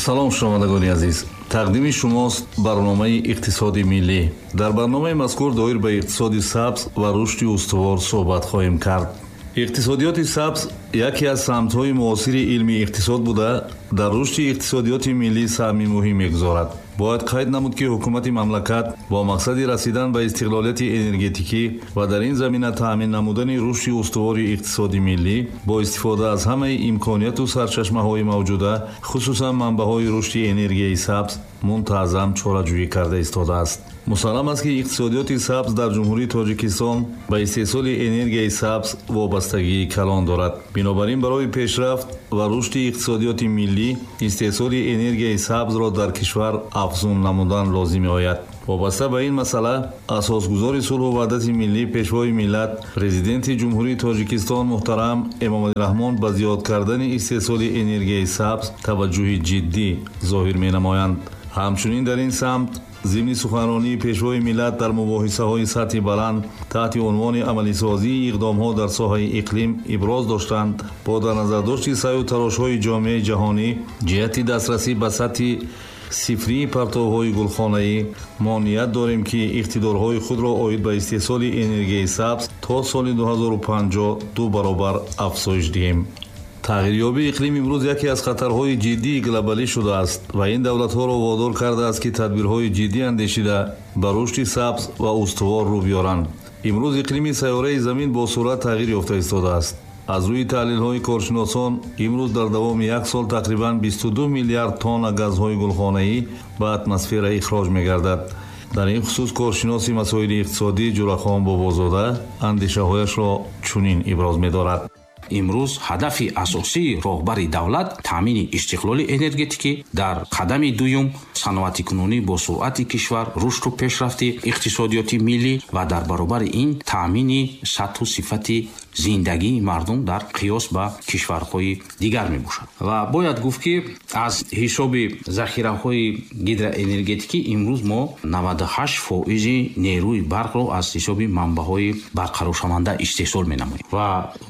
Салом, шунавандагони азиз. Тақдими шумост барномаи иқтисоди миллӣ. Дар барномаи мазкур доир ба иқтисоди сабз ва рушди устувор суҳбат хоҳем кард. Иқтисодиёти сабз яке аз самтҳои муосири илми иқтисод буда, дар рушди иқтисодиёти миллӣ саҳми муҳим мегузорад. Бояд қайд намуд, ки ҳукумати мамлакат бо мақсади расидан ба истиқлолияти энергетикӣ ва дар ин замина таъмин намудани рушди устувори иқтисоди миллӣ бо истифода аз ҳамаи имконияту сарчашмаҳои мавҷуда, хусусан манбаъҳои рушди энергияи сабз, мунтазам чораҷӯӣ карда истодааст. Мусаллам аст, ки иқтисодиёти сабз дар Ҷумҳурии Тоҷикистон ба истеҳсоли энергияи сабз вобастагии калон дорад. Бинобар ин, барои пешрафт ва рушди иқтисодиёти миллӣ истеҳсоли энергияи сабзро дар кишвар афзун намудан лозим меояд. Вобаста ба ин масъала асосгузори сулҳу ваҳдати миллӣ, пешвои миллат, Президенти Ҷумҳурии Тоҷикистон муҳтарам Эмомалӣ Раҳмон ба зиёд кардани истеҳсоли энергияи сабз таваҷҷӯҳи ҷиддӣ зоҳир менамоянд. Ҳамчунин дар ин самт зимни суханронии пешвои миллат дар мубоҳисаҳои сатҳи баланд таҳти унвони амалисозии иқдомҳо дар соҳаи иқлим иброз доштанд: бо дар назардошти саъю тарошҳои ҷомеаи ҷаҳонӣ ҷиҳати дастрасӣ ба сатҳи сифрии партовҳои гулхонаӣ, мо ният дорем, ки иқтидорҳои худро оид ба истеҳсоли энергияи сабз то соли 2050 ду баробар афзоиш диҳем. Тағйирёбии иқлим имрӯз яке аз хатарҳои ҷиддии глобалӣ шудааст ва ин давлатҳоро водор кардааст, ки тадбирҳои ҷиддӣ андешида ба рушди сабз ва устувор рӯ биёранд. Имрӯз иқлими сайёраи Замин бо суръат тағйир ёфта истодааст. Аз рӯи таҳлилҳои коршиносон, имрӯз дар давоми як сол тақрибан 22 миллиард тонна газҳои гулхонаӣ ба атмосфера ихроҷ мегардад. Дар ин хусус коршиноси масоили иқтисодӣ Ҷурахон Бобозода андешаҳояшро чунин иброз медорад. Имрӯз ҳадафи асосии роҳбари давлат таъмини истиқлоли энергетикӣ, дар қадами дуюм саноатикунонӣ бо суръати кишвар, рушду пешрафти иқтисодиёти миллӣ ва дар баробари ин таъмини сатҳу сифати зиндагии мардум дар қиёс ба кишварҳои дигар мебошад. Ва бояд гуфт, ки аз ҳисоби захираҳои гидроэнергетикӣ имрӯз мо 98 фоизи нерӯи барқро аз ҳисоби манбаъҳои барқароршаванда истеҳсол менамоем ва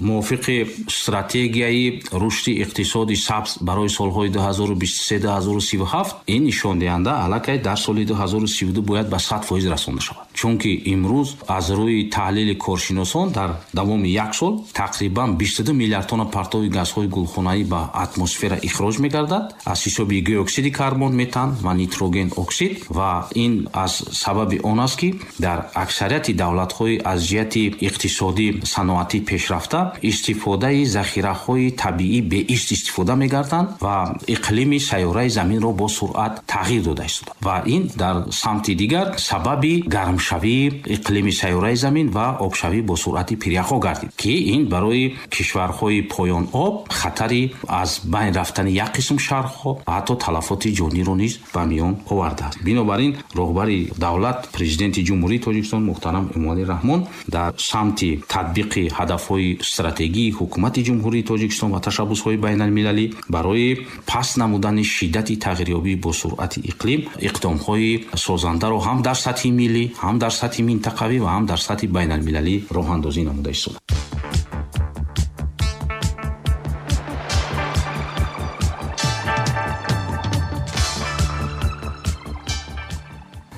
мувофиқи стратегияи рушди иқтисоди сабз барои солҳои 2023-2037 ин нишондиҳанда аллакай дар соли 2032 бояд ба 100% расонда шавад, чунки имрӯз аз рӯи таҳлили коршиносон дар давоми як сол тақрибан 22 миллиард тонна партови газҳои гулхонаӣ ба атмосфера ихроҷ мегардад аз ҳисоби диоксиди карбон, метан ва нитроген оксид. Ва ин аз сабаби он аст, ки дар аксарияти давлатҳои аз ҷиҳати иқтисодӣ саноатӣ пешрафта истифодаи захираҳои табиӣ беист истифода мегарданд ва иқлими сайёраи Заминро бо суръат тағйир дода истода ва ин дар самти дигар сабаби гармшавии иқлими сайёраи Замин ва обшавӣ бо суръати пиряхҳо гардид, ки ин барои кишварҳои поёноб хатари аз байн рафтани як қисм шаҳрҳо ва ҳатто талафоти ҷониро низ ба миён овардааст. Бинобар ин роҳбари давлат, Президенти Ҷумҳурии Тоҷикистон муҳтарам Эмомалӣ Раҳмон дар самти татбиқи ҳадафҳои стратегии ҳукумати Ҷумҳурии Тоҷикистон ва ташаббусҳои байналмилалӣ барои паст намудани шиддати тағйирёбӣ бо суръати иқлим иқдомҳои созандаро ҳам дар сатҳи миллӣ, ҳам дар сатҳи минтақавӣ ва ҳам дар сатҳи байналмилалӣ роҳандозӣ намуда истодааст.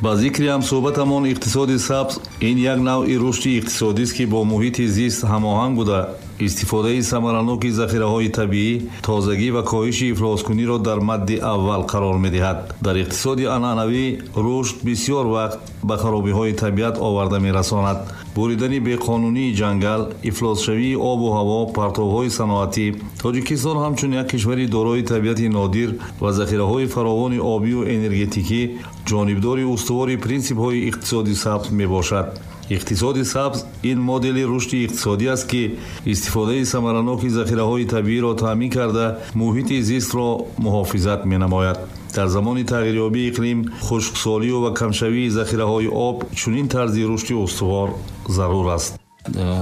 Ба зикри ҳамсӯҳбатамон, иқтисоди сабз ин як навъи рушди иқтисодист, ки бо муҳити зист ҳамоҳанг буда, истифодаи самараноки захираҳои табиӣ, тозагӣ ва коҳиши ифлоскуниро дар мадди аввал қарор медиҳад. Дар иқтисоди анъанавӣ рушд бисёр вақт ба харобиҳои табиат оварда мерасонад: буридани беқонунии ҷангал, ифлосшавии обу ҳаво, партовҳои саноатӣ. Тоҷикистон ҳамчун як кишвари дорои табиати нодир ва захираҳои фаровони обию энергетикӣ ҷонибдори устувори принсипҳои иқтисоди сабз мебошад. Иқтисоди сабз ин модели рушди иқтисодӣ аст, ки истифодаи самараноки захираҳои табииро таъмин карда, муҳити зистро муҳофизат менамояд. Дар замони тағйирёбии иқлим, хушксолию ва камшавии захираҳои об чунин тарзи рушди устувор зарур аст.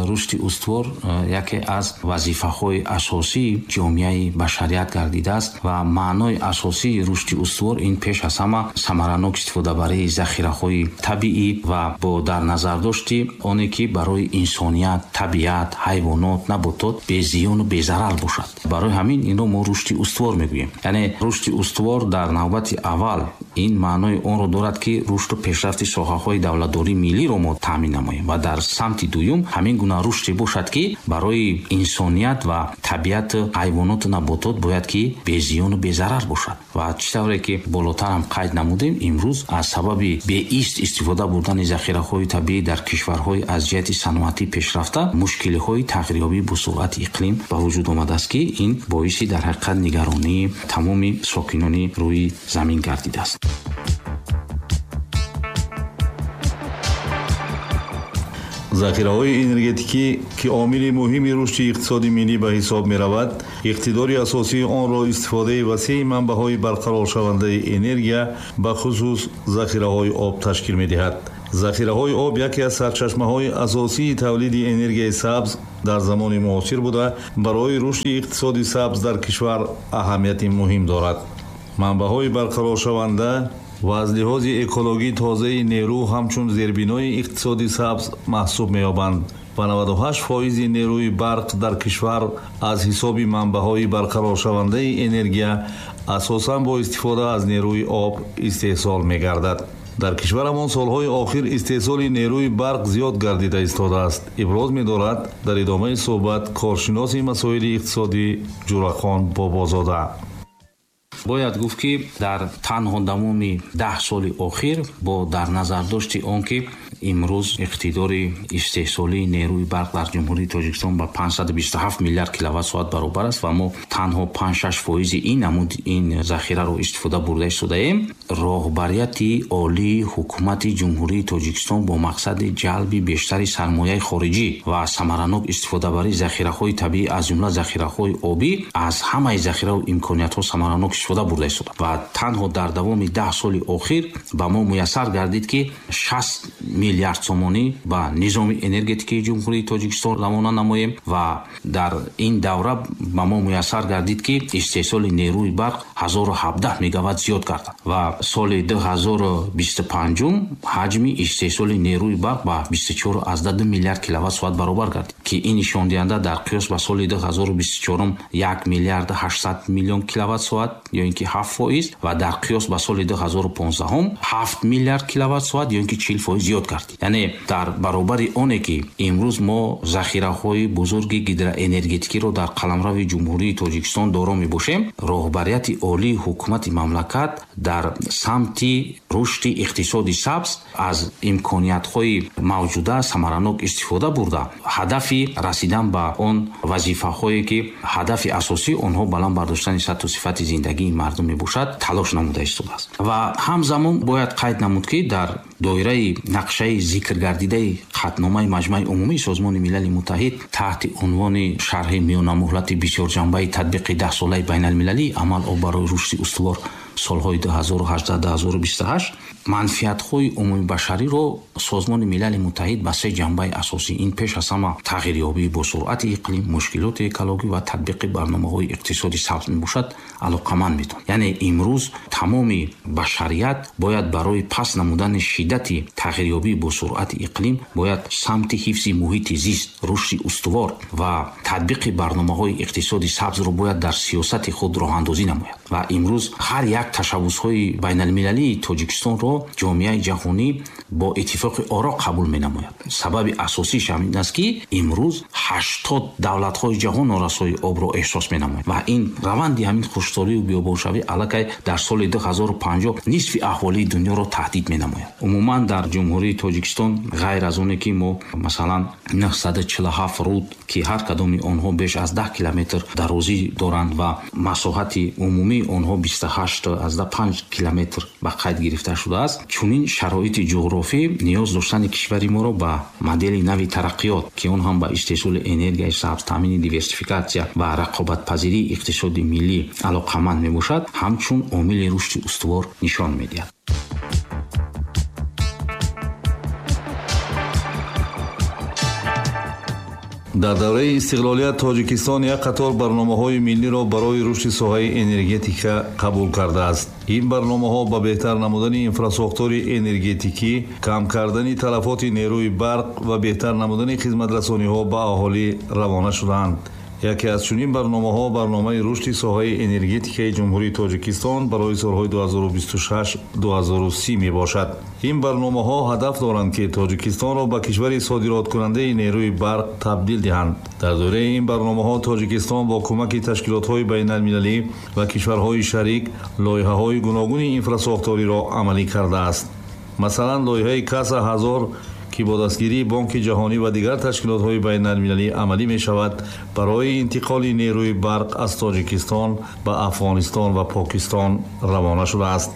Рушди устувор яке аз вазифаҳои асосии ҷомеаи башарият гардидааст ва маънои асосии рушди устувор ин пеш аз ҳама самаранок истифодабарии захираҳои табиӣ ва бо дар назардошти оне ки барои инсоният, табиат, ҳайвонот, наботот безиёну безарар бошад. Барои ҳамин инро мо рушди устувор мегӯем. Яъне рушди устувор дар навбати аввал ин маънои онро дорад, ки рушду пешрафти соҳаҳои давлатдории миллиро мо таъмин намоем ва дар самти дуюм ҳамин гуна рушде бошад, ки барои инсоният ва табиат, ҳайвоноту наботот бояд ки безиёну безарар бошад. Ва чӣ тавре ки болотар ҳам қайд намудем, имрӯз аз сабаби беист истифода бурдани захираҳои табиӣ дар кишварҳои аз ҷиҳати саноатӣ пешрафта мушкилиҳои тағйирёбӣ бо суръати иқлим ба вуҷуд омадааст, ки ин боиси дар ҳақиқат нигаронии тамоми сокинони рӯи замин гардидааст. Захираҳои энергетикӣ, ки омили муҳими рушди иқтисоди миллӣ ба ҳисоб меравад, иқтидори асосии онро истифодаи васеи манбаъҳои барқароршавандаи энергия, ба хусус захираҳои об ташкил медиҳад. Захираҳои об яке аз сарчашмаҳои асосии тавлиди энергияи сабз дар замони муосир буда, барои рушди иқтисоди сабз дар кишвар аҳамияти муҳим дорад. Манбаъҳои барқароршаванда ва аз лиҳози экологӣ тозаи нерӯ ҳамчун зербинои иқтисоди сабз маҳсуб меёбанд ва 98% нерӯи барқ дар кишвар аз ҳисоби манбаъҳои барқароршавандаи энергия асосан бо истифода аз нерӯи об истеҳсол мегардад. Дар кишварамон солҳои охир истеҳсоли нерӯи барқ зиёд гардида истодааст, иброз медорад дар идомаи суҳбат коршиноси масоили иқтисодӣ Ҷурахон Бобозода. Бояд гуфт, ки дар танҳо давоми 10 соли охир бо дар назардошти он ки имрӯз иқтидори истеҳсолии нерӯи барқ дар Ҷумҳурии Тоҷикистон ба 527 миллиард киловатт-соат баробар аст ва мо танҳо 5-6 фоизи ин намуд ин захираро истифода бурда истодаем, роҳбарияти олии ҳукумати Ҷумҳурии Тоҷикистон бо мақсади ҷалби бештари сармояи хориҷӣ ва самаранок истифодабарии захираҳои табиӣ, аз ҷумла захираҳои обӣ, аз ҳамаи захираву имкониятҳо самаранок истифода бурда истода ва танҳо дар давоми 10 соли охир ба мо муяссар гардид, ки 60 миллиард сомонӣ ба низоми энергетикии Ҷумҳурии Тоҷикистон равона намоем ва дар ин давра ба мо муяссар гардид, ки истеҳсоли нерӯи барқ 1017 мегаватт зиёд гардад ва соли 2025 ҳаҷми истеҳсоли нерӯи барқ ба 24,2 миллиард киловатт-соат баробар гардид, ки ин нишондиҳанда дар қиёс ба соли 2024 1 миллиард 800 миллион киловатт-соат ё ин ки 7% ва дар қиёс ба соли 2015 7 миллиард киловатт-соат ё ин ки 40% зиёд гардид. Яъне дар баробари оне ки имрӯз мо захираҳои бузурги гидроэнергетикиро дар қаламрави Ҷумҳурии Тоҷикистон доро мебошем, роҳбарияти олии ҳукумати мамлакат дар самти рушди иқтисоди сабз аз имкониятҳои мавҷуда самаранок истифода бурда, ҳадафи расидан ба он вазифаҳое ки ҳадафи асосии онҳо баланд бардоштани сатҳу сифати зиндагии мардум мебошад, талош намуда истодааст. Ва ҳамзамон бояд қайд намуд, ки дар доираи нақшаи зикргардидаи қатъномаи Маҷмаи Умумии Созмони Милали Муттаҳид таҳти унвони шарҳи миёнамуҳлати бисёрҷанбаи татбиқи 10-солаи байналмилалии амал об барои рушди устувор солҳои 2018-2028 манфиатҳои умумибашариро Созмони Милали Муттаҳид ба се ҷанбаи асосӣ, ин пеш аз ҳама тағйирёбӣ бо суръати иқлим, мушкилоти экологӣ ва татбиқи барномаҳои иқтисоди сабз мебошад, алоқаманд медонад. Яъне имрӯз тамоми башарият бояд барои паст намудани шиддати тағйирёбӣ бо суръати иқлим бояд самти ҳифзи муҳити зист, рушди устувор ва татбиқи барномаҳои иқтисоди сабзро бояд дар сиёсати худ роҳандозӣ намояд. Ва имрӯз ҳар як ташаббусҳои байналмилалии Тоҷикистонро ҷомеаи ҷаҳонӣ бо иттифоқи оро қабул менамояд. Сабаби асосиаш ҳамин аст, ки имрӯз 80 давлатҳои ҷаҳон норасоии обро эҳсос менамояд ва ин раванди ҳамин хушксолию биёбоншавӣ аллакай дар соли 2050 нисфи аҳолии дунёро таҳдид менамояд. Умуман дар Ҷумҳурии Тоҷикистон ғайр аз оне ки мо масалан 947 руд, ки ҳар кадоми онҳо беш аз 10 километр дарозӣ доранд ва масоҳати умумии онҳо 28,5 километр ба қайд гирифта шудааст, чунин шароити ҷуғрофӣ ниёз доштани кишвари моро ба модели нави тараққиёт, ки он ҳам ба истеҳсоли энергияи сабз, таъмини диверсификатсия ва рақобатпазирии иқтисоди миллӣ алоқаманд мебошад, ҳамчун омили рушди устувор нишон медиҳад. Дар давраи истиқлолият Тоҷикистон як қатор барномаҳои миллиро барои рушди соҳаи энергетика қабул кардааст. Ин барномаҳо ба беҳтар намудани инфрасохтори энергетикӣ, кам кардани талафоти нерӯи барқ ва беҳтар намудани хизматрасониҳо ба аҳолӣ равона шудаанд. Яке аз чунин барномаҳо барномаи рушди соҳаи энергетикаи Ҷумҳурии Тоҷикистон барои солҳои 2026-2030 мебошад. Ин барномаҳо ҳадаф доранд, ки Тоҷикистонро ба кишвари содироткунандаи нерӯи барқ табдил диҳанд. Дар доираи ин барномаҳо Тоҷикистон бо кӯмаки ташкилотҳои байналмилалӣ ва кишварҳои шарик лоиҳаҳои гуногуни инфрасохториро амалӣ кардааст. Масалан, лоиҳаи Каса 1000, ки бо дастгирии Бонки Ҷаҳонӣ ва дигар ташкилотҳои байналмилалӣ амалӣ мешавад, барои интиқоли нерӯи барқ аз Тоҷикистон ба Афғонистон ва Покистон равона шудааст.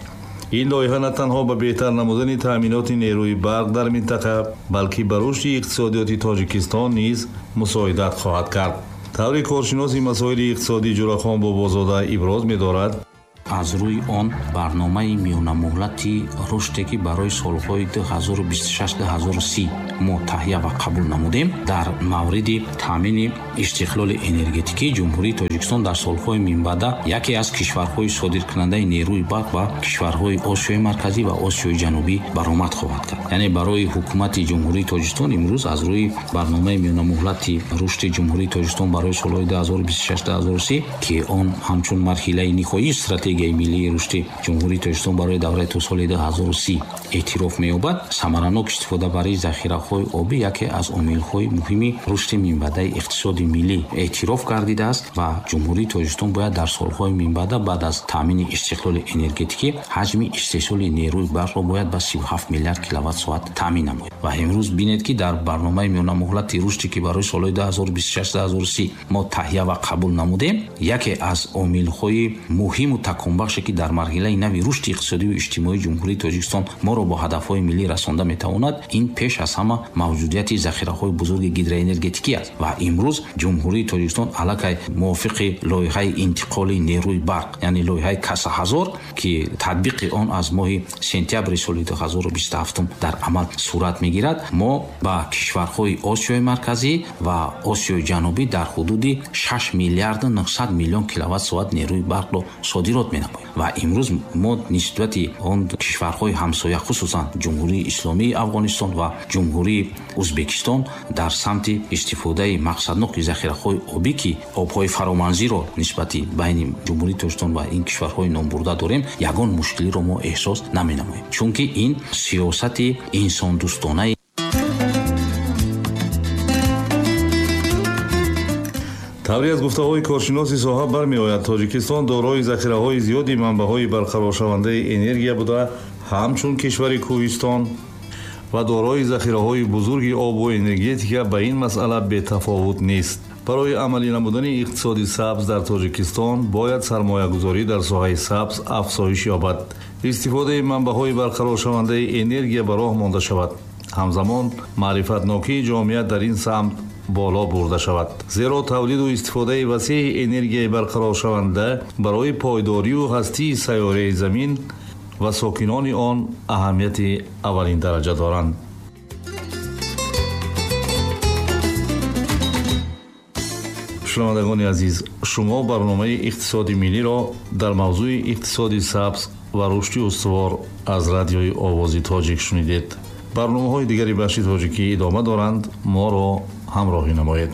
Ин лоиҳа на танҳо ба беҳтар намудани таъминоти нерӯи барқ дар минтақа, балки ба рушди иқтисодиёти Тоҷикистон низ мусоидат хоҳад кард. Таври коршиноси масоили иқтисодӣ Ҷурахон Бобозода иброз медорад, аз рӯи он барномаи миёнамуҳлати рушде, ки барои солҳои 2026-2030 мо таҳия ва қабул намудем, дар мавриди таъмини истиқлоли энергетикии Ҷумҳурии Тоҷикистон дар солҳои минбаъда яке аз кишварҳои содиркунандаи нерӯи барқ ба кишварҳои Осиёи Марказӣ ва Осиёи Ҷанубӣ баромад хоҳад кард. Яъне барои ҳукумати Ҷумҳурии Тоҷикистон имрӯз аз рӯи барномаи миёнамуҳлати рушди Ҷумҳурии Тоҷикистон барои солҳои 2026-2030, ки он ҳамчун марҳилаи ниҳоии стратегияи миллии рушди Ҷумҳурии Тоҷикистон барои давраи то соли 2030 эътироф меёбад, самаранок истифода барои захираҳои обӣ яке аз омилҳои муҳими рушди минбаъдаи иқтисоди миллӣ эътироф гардидааст ва Ҷумҳурии Тоҷикистон бояд дар солҳои минбаъда баъд аз таъмини истиқлоли энергетикӣ ҳаҷми истеҳсоли нерӯи барқро бояд ба 37 миллиард киловатт-соат таъмин намояд. Ва имрӯз бинед, ки дар барномаи миёнамуҳлати рушде, ки барои солҳои 2026-2030 мо таҳия ва қабул намудем, яке аз омилҳои муҳиму таконбахше, ки дар марҳилаи нави рушди иқтисодию иҷтимоии Ҷумҳурии Тоҷикистон моро бо ҳадафҳои миллӣ расонда метавонад, ин пеш аз ҳама мавҷудияти захираҳои бузурги гидроэнергетикӣ аст. Ва имрӯз Ҷумҳурии Тоҷикистон аллакай мувофиқи лоиҳаи интиқоли нерӯи барқ, яъне лоиҳаи Каса 1000, ки татбиқи он аз моҳи сентябри соли 2027 дар амал сурат мегирад, мо ба кишварҳои Осиёи Марказӣ ва Осиёи Ҷанубӣ дар ҳудуди 6 миллиарду 900 миллион киловатт-соат нерӯи барқро содирот менамоем. Ва имрӯз мо нисбати он кишварҳои ҳамсоя, хусусан Ҷумҳурии Исломии Афғонистон ва Ҷумҳурии Ӯзбекистон, дар самти истифодаи мақсадноки захираҳои обӣ, ки обҳои фароманзиро нисбати байни Ҷумҳурии Тоҷикистон ва ин кишварҳои номбурда дорем, ягон мушкилиро мо эҳсос наменамоем, чунки ин сиёсати инсондӯстонаи. Тавре аз гуфтаҳои коршиноси соҳа бармеояд, Тоҷикистон дорои захираҳои зиёди манбаъҳои барқароршавандаи энергия буда, ҳамчун кишвари кӯҳистон ва дорои захираҳои бузурги обу энергетика ба ин масъала бетафовут нест. Барои амалӣ намудани иқтисоди сабз дар Тоҷикистон бояд сармоягузорӣ дар соҳаи сабз афзоиш ёбад, истифодаи манбаъҳои барқароршавандаи энергия ба роҳ монда шавад, ҳамзамон маърифатнокии ҷомеа дар ин самт боло бурда шавад, зеро тавлиду истифодаи васеи энергияи барқароршаванда барои пойдорию ҳастии сайёраи Замин ва сокинони он аҳамияти аввалин дараҷа доранд. Шунавандагони азиз, шумо барномаи иқтисоди миллиро дар мавзӯи иқтисоди сабз ва рушди устувор аз радиои Овози Тоҷик шунидед. Барномаҳои дигари бахши тоҷикӣ идома доранд. Моро ҳамроҳӣ намоед.